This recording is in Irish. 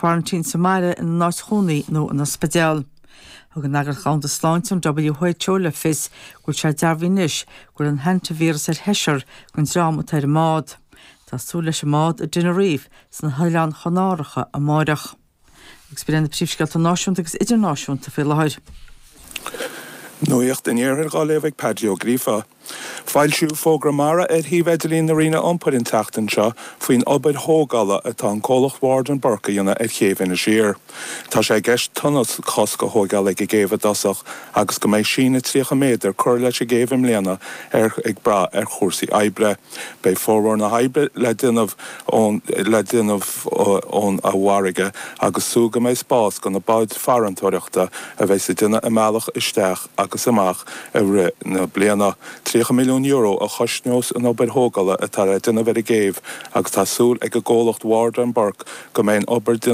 Quarantine sa mbaile, ina n-áit chónaí nó in ospidéal. Thug an Eagraíocht Dhomhanda Sláinte, an WHO, le fios go bhfuil sé dearbhaithe anois go bhfuil an hantavíreas ar sheisear den dream atá ar an mbád. Tá súil leis an mbád i dTenerife sna hOileáin Chanáracha amáireach. Agus b'in iad na príomhscéalta náisiúnta agus idirnáisiúnta faoi láthair. Nuacht an Iarthair dhá léamh ag Paddy Ó Gríofa. Foilsíodh fógra mara ar shuíomh idirlín na Roinne Iompair an tseachtain seo faoin obair thógála atá an comhlacht Ward and Burke a dhéanamh ar chéibh Inis Oírr. Tá sé i gceist tonnail chosc a thóigeáil ag an gcéibh i dtosach agus go mbeidh síneadh 30 méadar curtha leis an gcéibh i mbliana ar ag brath ar chúrsaí oibre. Beidh formhór na hoibre le déanamh ón le déanamh ón bhfarraige agus súil go mbeidh spás do na báid farantóireachta a bheas ag déanamh a mbealach isteach agus amach i rith na bliana. €30 milliún a chosnós an obair thógála atá le déanamh ar an gcéibh agus tá súil ag an gcomhlacht Ward and Burke go mbeidh an obair déanta.